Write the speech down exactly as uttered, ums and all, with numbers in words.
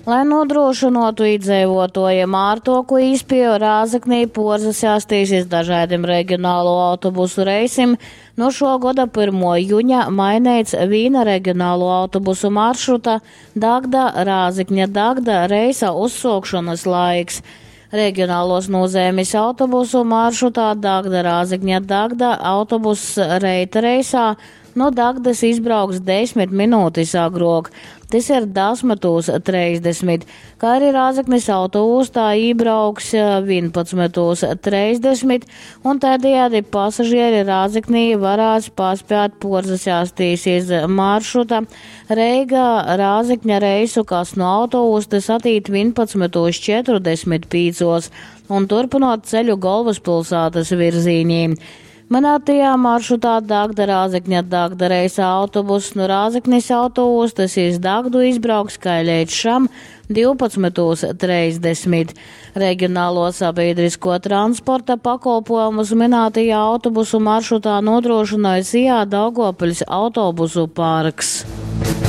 Lai nodrošinātu iedzīvotājiem ārtoku īspēju Rēzeknī porzasēstīs iz dažaidim regionālo autobusu reisim, nu šo goda pirmo juņa maineits vīna regionālo autobusu maršruta Dagda – Rāzekņa – Dagda reisa uzsuokšonys laiks. Regionālos nūzeimis autobusu maršrutā Dagda – Rāzekņa – Dagda autobuss reita reisā nu Dagdys izbrauks desmit minūtis agruok. Tys ir desmitūs treisdesmit, kā arī Rāzeknis autoūstā ībrauks vienpadsmitūs treisdesmit, un tādējādi pasažieri Rāzeknī varēs paspēt porzasēstīs iz maršruta Reiga Rāzekņa reisu, kas no autoūstas atīt vienpadsmitūs četrdesmit pīcos un turpinot ceļu galvaspilsētas virzīnī. Minētajā maršrutā Dagda Rāzekņa Dagda reisā autobuss no Rāzeknis autoostas iz Dagdu izbrauks kā līdz šam divpadsmitūs treisdesmit. Regionālo sabiedrisko transporta pakolpojumus minētajā autobusu maršrutā nodrošināja S I A Daugavpils autobusu parks.